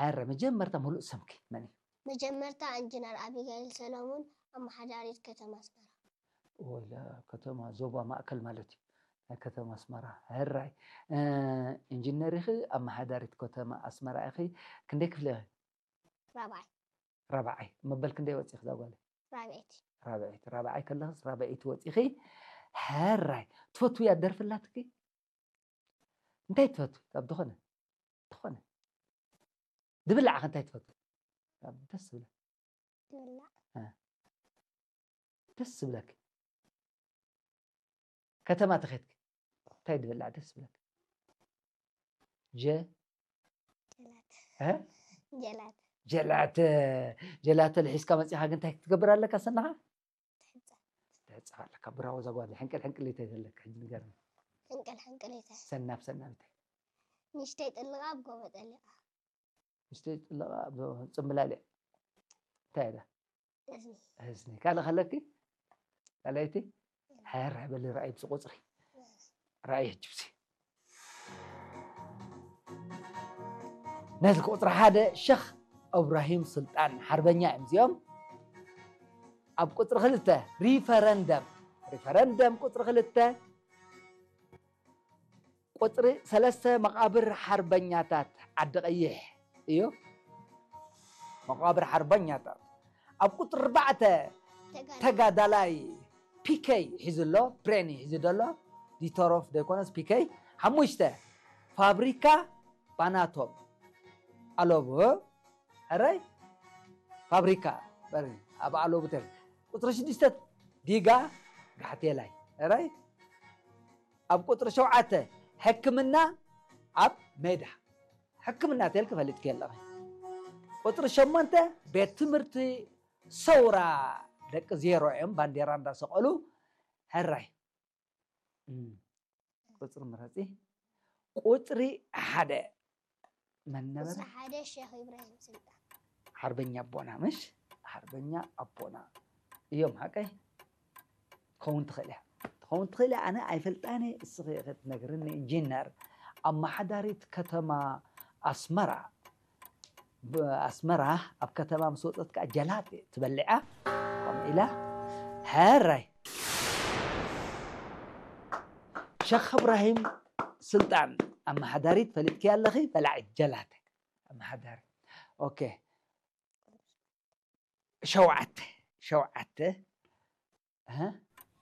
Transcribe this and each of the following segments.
ኣረ መጀመርታ ሙሉእ ስምኪ መን እዩ? መጀመርታ ኢንጂነር ኣቢጋይል ሰሎሙን፣ ኣመሓዳሪት ከተማ ኣስመራ። ወላ ከተማ ዞባ ማእከል ማለት እዩ። ናይ ከተማ ኣስመራ። ሕራይ። እ፣ ኢንጂነር ኢኺ፣ ኣመሓዳሪት ከተማ ኣስመራ ኢኺ። ክንደይ ክፍሊ ኢኺ? ራብዓይ። ራብዓይ። መበል ክንደይ ወፂኺ እዛ ጓለይ? ራብዐይቲ። ራብዐይቲ። ራብዓይ ከለኽስ ራብዐይቲ ወፂኺ። ሕራይ። ትፈትውያ ደርፊ ኣላትኪ? እንታይ ትፈትዊ? ካብ ዝኾነ? ዝኾነ። ድብላዕ ከ እንታይ ትፈትዊ? ካብ ደስ ዝብለኪ። ድብላዕ። እ። ደስ ዝብለኪ። ከተማ ተኸድኪ። እንታይ ድብላዕ ደስ ዝብለኪ? ጀ-፣ ጀላተ። እ? ጀላተ። ጀላተ። ጀላተ ልሒዝካ መፂኻ ግን እንታይ ክትገብር ኣለካ ሰናኻ? ትሕፀብ። ትሕፀብ ኣለካ። ብራቮ እዛ ጓል። ሕንቅል ሕንቅል እንታይ ዘለካ? ሕጂ ንገርኒ። ሕንቅል ሕንቅል እንታይ? ሰናብ ሰናብ እንታይ? ንእሽተይ ጥልቓ ኣብ ጎቦ ጠሊቓ። ንእሽተይ ጥልቓ ኣብ ጽምብላሊዕ። እንታይ እያ? እዝኒ። እዝኒ። ካልእ ከለኪ? ካልኣይቲ? ሕራይ በሊ ርኣይ ብዚ ቁፅሪ። ርኣይ ሕጂ ብዚ። ነዚ ቁፅሪ ሓደ ሸኽ እብራሂም ሱልጣን ሓርበኛ እዮም እዚኦም። ኣብ ቁፅሪ ክልተ ሪፈረንደም። ሪፈረንደም ቁፅሪ ክልተ። ቁፅሪ ሰለስተ መቓብር ሓርበኛታት ዓዲ ቀይሕ እዩ። መቓብር ሓርበኛታት። ኣብ ቁፅሪ ኣርባዕተ ተጋዳላይ ፒኬ ሒዙ ኣሎ፣ ብሬን ሒዙ ዘሎ፣ ዲተሮፍ ዘይኮነስ ፒኬ። ሓሙሽተ ፋብሪካ ባናቶም ኣለቡ። ሕራይ ፋብሪካ በሪ ኣብ ኣለቡ ተር። ቁፅሪ ሽዱሽተ ዲጋ ጋሕቴላይ። ሕራይ ኣብ ቁፅሪ ሸውዓተ ሕክምና ኣብ ሜዳ። ሕክምና ተልክ ፈልጥኪ ኣለኺ። ቁፅሪ ሸሞንተ ቤት ትምህርቲ ሰውራ ደቂ ዜሮ እዮም ባንዴራ እንዳሰቐሉ። ሕራይ እም፣ ቁፅሪ ምረፂ። ቁፅሪ ሓደ መን ነበረ? ቁፅሪ ሓደ ሸኽ ኢብራሂም ስልጣን። ሓርበኛ ኣቦና ምሽ ሓርበኛ ኣቦና እዮም። ሓቀይ ትኸውን ትኽእል እያ። ትኸውን ትኽእል እያ። ኣነ ኣይፈልጣን እየ፣ እስኺ ክትነግርኒ። ኢንጂነር ኣመሓዳሪት ከተማ ኣስመራ። ብ-፣ ኣስመራ ኣብ ከተማ ምስ ወፀት ከዓ ጀላቴ ትበልዓ ከምኡ ኢላ። ሕራይ ሸኽ እብራሂም ስልጣን ኣመሓዳሪት ፈሊጥኪ ኣለኺ? በላዒ ጀላቴ ኣመሓዳሪ። ኦኬ። ሸውዓተ፣ ሸውዓተ። እህ?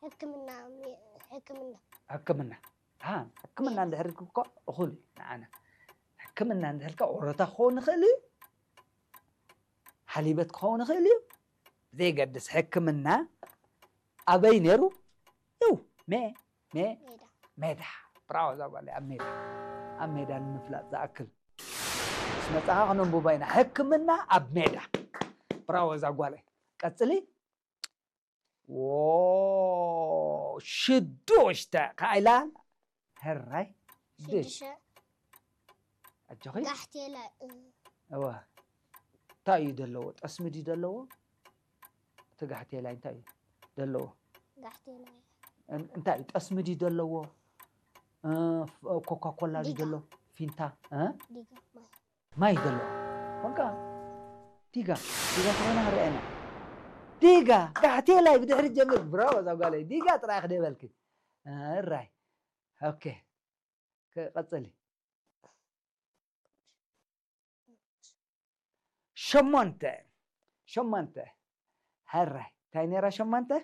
ሕክምና ሚ- ሕክምና። ሕክምና። ሃ፣ ሕክምና እንድሕር እኮ እኹል እዩ ንዓና። ሕክምና እንድሕር እኮ ኦሮታ ክኸውን ይኽእል እዩ። ሓሊበት ክኸውን ይኽእል እዩ። ዘይገድስ ሕክምና ኣበይ ነይሩ? ይው፣ ሜ፣ ሜ፣ ሜዳ። ሜዳ። ብራዎ እዛ ጓለይ፣ ኣብ ሜዳ። ኣብ ሜዳ ንምፍላጥ ዝኣክል። ምስ መጻኻ ክነንብቦ ኢና። ሕክምና ኣብ ሜዳ። ብራዎ እዛ ጓለይ። ቀጽሊ። ዎ፣ ሽዱሽተ። ከኣ ኢላ። ሕራይ። ሽዱሽ። ሽዱሽተ። ኣጆኺ። ጋሕቴላ። እ፣ እዋ። እንታይ እዩ ዘለዎ? ጠስሚ ድዩ ዘለዎ? እቲ ጋሕቴላይ እንታይ እዩ ዘለዎ? ጋሕቴላ። እን-፣ እንታይ እዩ? ጠስሚ ድዩ ዘለዎ? እ፣ ፍ-፣ ኮካ ኮላ ድዩ ዲጋ። ዘለዎ? ፊንታ? እ? ዲጋ ማይ። ማይ ዘለዎ። በቃ ዲጋ፣ ዲጋ ተኾይና ክንሪኣ ኢና። ዲጋ፣ ጋሕቴላይ ብድሕሪ ጀምር። ብራቮ እዛ ጓለይ። ዲጋ ጥራይ ክደይ በልኪ። እራይ። ኦኬ። ክ-፣ ቀጽሊ። ሸሞንተ። ሸሞንተ። ሕራይ። እንታይ ነይራ ሸሞንተ?